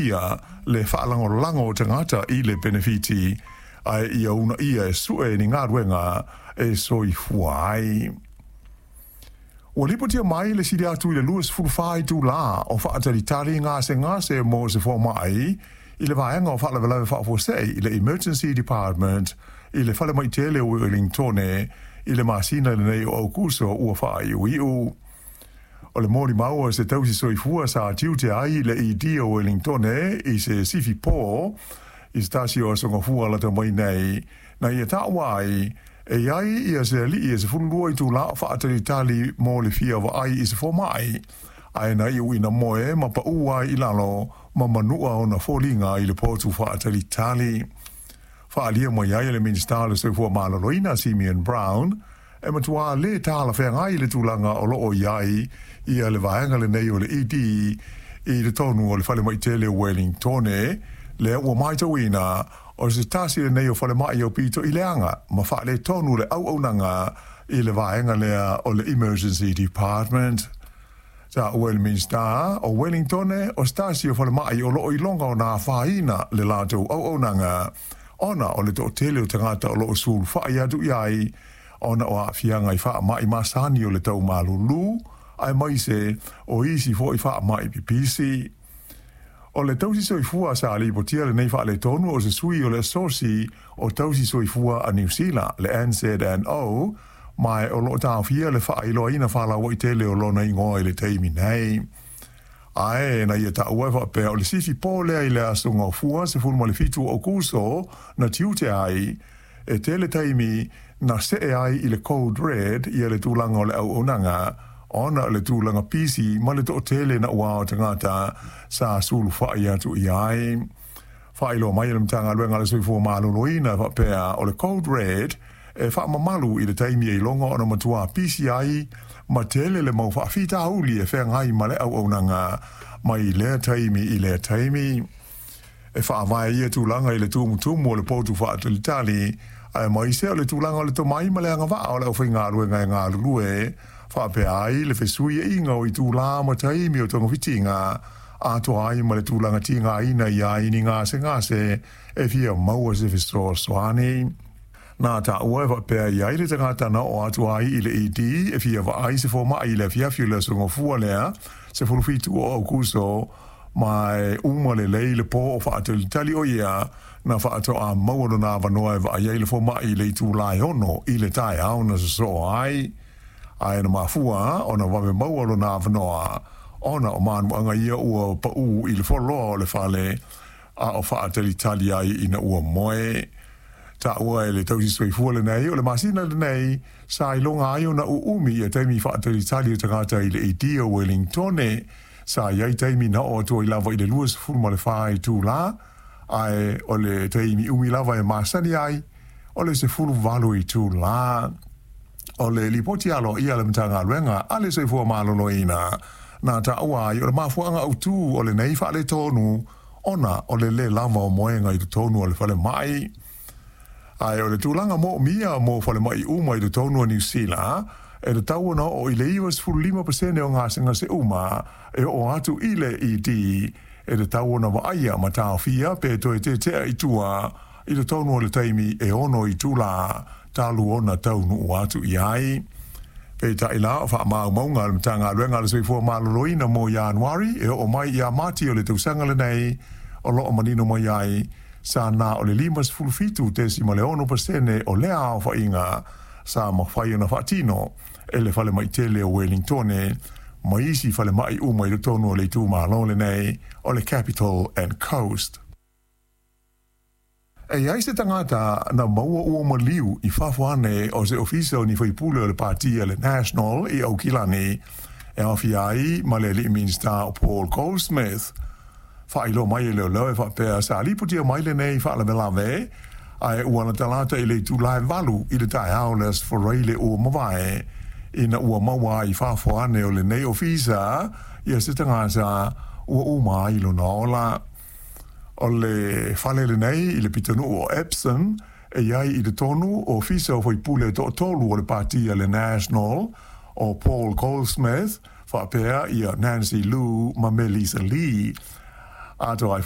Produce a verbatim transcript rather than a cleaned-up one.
ia le faalagolago o tagata i le penefiti ae ia uunaia e sue ni galuega e soifua ai. Ua lipotia mai le sili atu i le luasefulufa itulā o faatalitali gasegase mo se fomai i le vaega o faalavelave faafuasei i le Emergency Department i le falemai tele o Uelintone i le masina lenei o Aukuso ua faaiuiu. O le molimau a se tausi soifua sa tiute ai le E D o Wellingtone i se sifi pō i se tasi o aso gafua lata mai nei, na ia taua ai e iai ia se alii e sefululua itulā o faatalitali mo le fia vaai i se fomai, ae na iu ina moe ma paʻu ai i lalo ma manua ona foliga i le potu faatalitali. Faaalia mai ai e le Minisita o le Soifua Maloloina Simeon Brown e matuā lē talafeagai le tulaga o loo i ai ia le vaega lenei o le E D i totonu o le falemai tele o Wellingtone, lea ua matauina o se tasi lenei o falemai aupito i leaga ma faaletonu le auaunaga i le vaega lea o le Emergency Department. Taua e le Minisita o Wellingtone o se tasi o falemai o loo iloga ona afaina le latou auaunaga ona o le toatele o tagata o loo sulufai atu i ai ona o aafiaga i faamai masani o le taumalūlū aemaise o isi foʻi faamai pipisi. O le tausi soifua sa lipotia lenei faaletonu o se sui o le asosi o tausi soifua a Niu Sila le N Z N O ma o loo taofia le faailoaina faalauaitele o lona igoa i le taimi nei. Ae na ia taua e faapea o le sifi pō lea i le aso gafua sefulu ma le fitu o Aukuso na tiute ai e tele taimi na see ai i le code red ia le tulaga o le auaunaga ona o le tulaga pisi ma le toatele na ua o tagata sa sulufai atu i ai. Faailoa mai e le Matagaluega a le Soifua Maloloina faapea o le code red e faamamalu i le taimi e iloga ona matuā pisi ai ma tele le mau faafitauli e feagai ma le auaunaga mai lea taimi i lea taimi. E faavae ia tulaga i le tumutumu o le potu faatalitali aemaise o le tulaga o le tomai ma le agavaa o le aufaigaluega e galulue faapea ai le fesuiaiga o itulā ma taimi o togafitiga atoa ai ma le tulaga tigaina ia ai ni gasegase e fia maua se fesoasoani. Na taua e faapea i ai le tagata na oo atu ai i le E D e fia vaai se fomai i le afiafi o le aso gafua lea sefulufitu o Aukuso ma e uma lelei le pō o faatalitali o ia na faatoa maua lona avanoa e vaai ai le fomai i le itulā e ono i le taeao na sosoo ai. Ae na mafua ona vave maua lona avanoa ona o manuaga ia ua paʻu i le foloa o le fale a o faatalitali ai ina ua moe. Taua e le tausi soifua lenei o le masina lenei sa iloga ai ona uumi ia taimi faatalitali o tagata i le E D o Wellingtone sa iai taimi na oo atu ai lava i le luasefulu ma le fa itulā ae o le taimi umi lava e masani ai o le sefulu valu itulā. O le lipoti aloaia a le Matagaluega a le Soifua Maloloina na taua ai o le mafuaaga autū o lenei faaletonu ona o le lē lava o moega i totonu o le falemai. Ae o le tulaga moomia mo falemai uma i totonu o Niu Sila e tatau ona oo i le ivasefululima pasene o gasegase uma e oo atu i le E D e tatau ona vaaia ma taofia pe toe tetea i tua i totonu o le taimi e ono itulā talu ona taunuu atu i ai. Peitai la o faamaumauga a le Matagaluega a le Soifua Maloloina mo Ianuari e oo mai ia Mati o le tausaga lenei o loo manino mai ai sa na o le limasefulufitu tesima le ono pasene o lea aofaiga sa mafai ona faatino e le falemai tele o Wellingtone ma isi falemai uma i totonu o le itumalo lenei o le Capital and Coast. E iai se tagata na maua ua maliu i fafo ane o se ofisa o ni faipule o le patia le National i Aukilani e aofia ai ma le alii Minisita o Paul Goldsmith. Faailoa mai e leoleo e faapea sa lipotia mai lenei faalavelave ae ua latalata i le itulā e valu i le taeao le Aso Faraile ua mavae ina ua maua ai i fafo ane o lenei ofisa ia se tagata ua uma ai lona ola. O le fale lenei i le pitonuu o Epsom e iai i totonu o ofisa o faipule toatolu o le patia le National o Paul Goldsmith faapea ia Nancy Lu ma Melissa Lee. Atoa ai foʻi